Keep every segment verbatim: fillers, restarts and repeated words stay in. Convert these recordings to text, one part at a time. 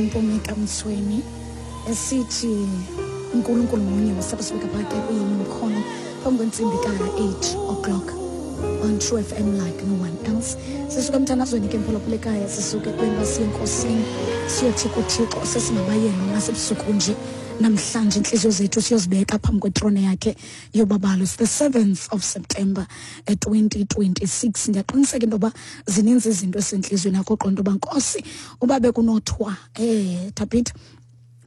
Mpumi kaMtsweni esithi uNkulunkulu munye. Wasabasibeka phake kuyimkhono phambi kwentsimbi ka-eight o'clock on True F M like no one else. Sisuka emthandazweni ke mphulaphula ekhaya, sisuke ekubeni uba siye enkosini, siyothi kuThixo sesingabayena nasebusuku nje. Namhlanje intliziyo zethu siyozibeka phambi kwetrone yakhe yobabalo. It's the seventh of September twenty twenty-six. Ndiyaqiniseka into yoba zininzi izinto esentliziyweni yakho, uqonda uba Nkosi uba bekunothiwa eh Thabitha,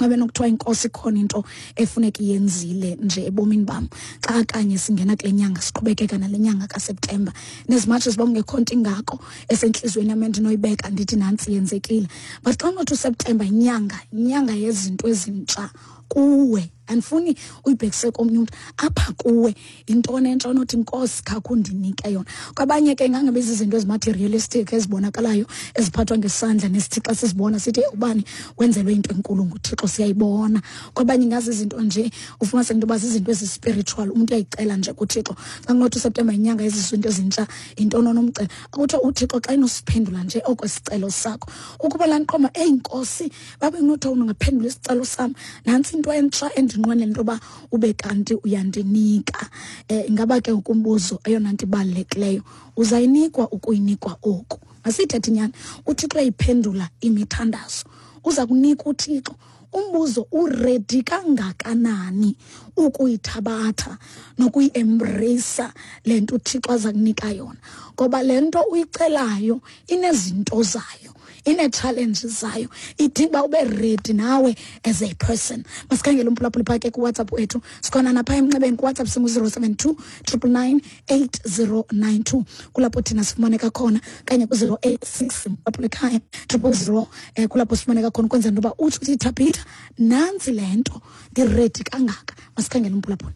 ngabe nokuthiwa inkosi ikhona into efuneka iyenzile nje ebomini bam xa kanye singena kule nyanga, siqhubekeka nale nyanga kaSeptemba. As much as uba kungekho nto ingako esentliziyweni yam endinoyibeka ndithi nantsi yenzekile, but xa unothi uSeptemba yinyanga, yinyanga yezinto ezintsha kuwe, andifuni uyibhekise komnye umntu, apha kuwe yintoni entsha onothi Nkosi khakhe undinike yona. Kwabanye ke ingangabe zizinto ezimaterialistic ezibonakalayo eziphathwa ngesandla nesithi xa sizibona sithi hey, ubani wenzelwe into enkulu nguThixo, siyayibona. Kwabanye ingazi izinto nje ufumaniseke into yoba zizinto ezi-spiritual, umntu uyayicela nje kuThixo. Xa kunothi uSeptemba yinyanga yezinto ezintsha, yintoni onomcela? Akuthiwa uThixo xa enosiphendula nje okwesicelo sakho, ukuba laa nqoma, eyi Nkosi, babe kunothiwa ungaphendula isicelo sam, nantsi into entsha endinqwenela into yoba ube kanti uyandinika. Eh, ingaba ke ukumbuzo eyona nto ibalulekileyo, uzayinikwa ukuyinikwa oku? Masiyithethe inyani, uThixo uyayiphendula imithandazo, uza kunika uThixo. Umbuzo, uredi kangakanani ukuyithabatha nokuyi-embracea le nto uThixo aza kunika yona? Ngoba le nto uyicelayo inezinto zayo, ine-challenge zayo, idinga uba ube ready nawe as a person. Masikhangele umphulaphuli phake kuWhatsApp wethu, sikhona napha emnxebeni kuWhatsApp singu-zero seven two triple nine eight zero nine two, kulapho thina sifumaneka khona, kanye ku-zero eight six mphulaphuli ekhaya triple zero, eh, kulapho sifumaneka khona ukwenzela into yoba utsho uthi Thabitha, nantsi le nto, ndiredi kangaka. Masikhangele umphulaphuli.